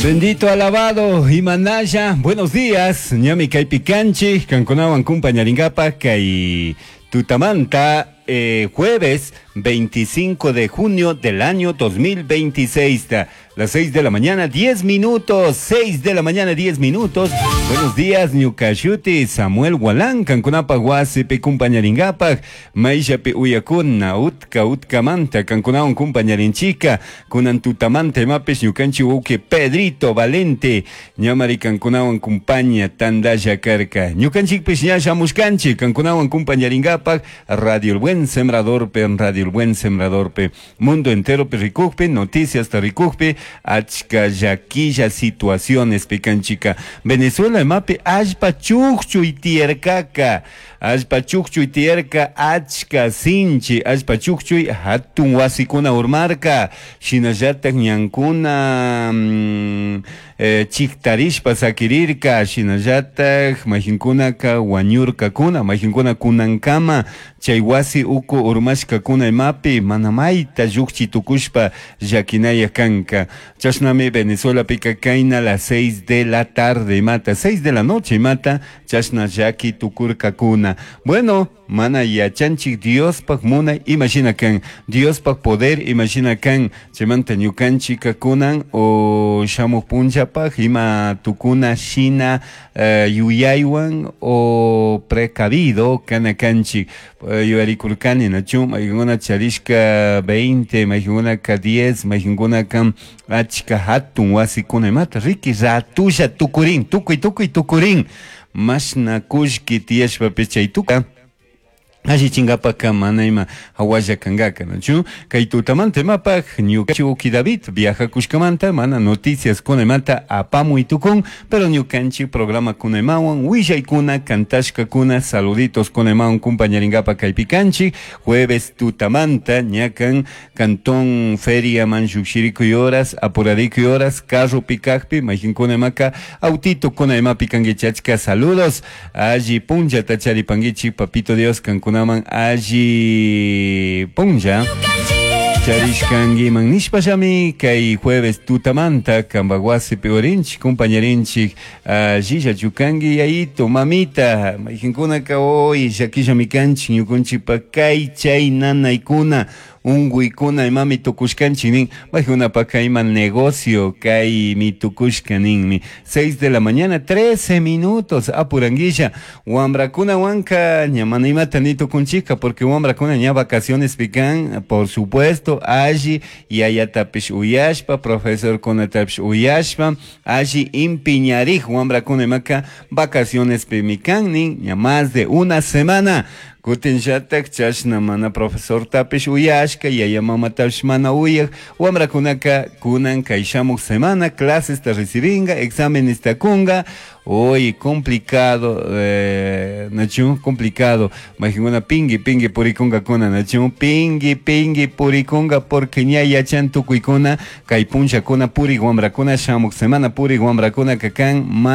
Bendito, alabado, Imanaya, buenos días, ñami kaypi kanchik, kankunawan kumpañarinkapak kay tutamanta jueves 25 de junio del año 2026, las 6 de la mañana, 10 minutos, 6 de la mañana, 10 minutos. Buenos días, ñukashuti, Samuel Gualán, kankunapak wasipi kumpañarinkapak, mayllapi uyakuna, utka, utkamanta, kankunawan kumpañarinchika, kunan tutamanta imapish ñukanchik wawqi Pedrito Valente, ñamari kankunawan kumpaña tandalla karka. Ñukanchikpish ña shamushkanchik, kankunawan kumpañarinkapak, Radio El Buen Sembrador pe, Radio El Buen Sembrador pe, mundo entero pe rikukpi, noticias ta rikukpi, achka llaquilla situaciones pe kanchika. Venezuela imapi allpa chukchuy tiyarkaka, allpa chukchuy tiyarka, achka sinchi, allpa chukchuy hatun wasikuna urmarka, shinallatak ñankuna, chiktarishpa sakirirka, shinallatak mayjinkunaka wañurkakuna, mayjinkuna kunankama chay wasi uku urmashkakuna imapi mana mayta llukchi tukushpa llakinaya kanka. Chashnami Venezuelapika kayna las 6 de la tarde imata, 6 de la noche imata, chashna llaki tukurkakuna. Bueno, mana yachanchik Diospaj munay imashina kan, Diospaj poder imashina kan, chaymanta ñukanchika kunan o shamuk punllapaj ima tukuna shina yuyaywan o precavido kana kanchik. Yuyarikurkani nachu, mayqinkuna charishka 20, mayqinkunaka 10, mayqinkunaka achka hatun wasikuna imata, riki ratulla tukurin, tukuy, tukuy tukurin, mashna kullki tiyashpapish chay tuka allichinkapaka mana ima hawalla kankaka, nachu? Kay tutamanta imapaj ñukanchik wawqi David viajakushkamanta mana noticias kuna imata apamuy tukun, pero ñukanchik programa kuna imawan willaykuna kantashkakuna saluditos kuna imawan kumpañarinkapa kaypi kanchik jueves tutamanta ñakan cantón feria man llukshirikuy horas apurarikuy horas carro pikakpi mayqinkuna imaka autito kuna imapi kankichik achka saludos alli punllata charipankichik papito Dios kankuna man alli punlla charishkankiman nishpallami kay jueves tutamanta kanpak wasipi urinchik kumpañarinchik allilla chukanki yayito mamita mayqinkunaka hoy llakillami kanchik ñukunchikpa kay chay nanaykuna unkuykuna imami tukushkanchik nin maykunapaka ima negocio kaymi tukushka ninmi. 6 de la mañana 13 minutos apuranguilla wambrakunawanka ña mana imata ni tukunchika porque wambrakuna ña vacaciones pican por supuesto alli yayatapish uyashpa profesorkunatapish uyashpa alli impiñarik wambrakuna imaka vacaciones pimikan nin ña más de una semana. Kutinllatak chashna mana profesortapish uyashka, yaya mamatapish mana uyak, wambrakunaka kunan kay shamuk semana clases ta recibinga, exámenes ta kunga, hoy complicado, nachu, complicado, mayqinkuna pingui, pingui purikunga kuna, nachu, pingui, pingui purikunga, porque ña yachan tukuykuna, kay punllakuna purik wambrakuna, shamuk semana purik wambrakuna kakan.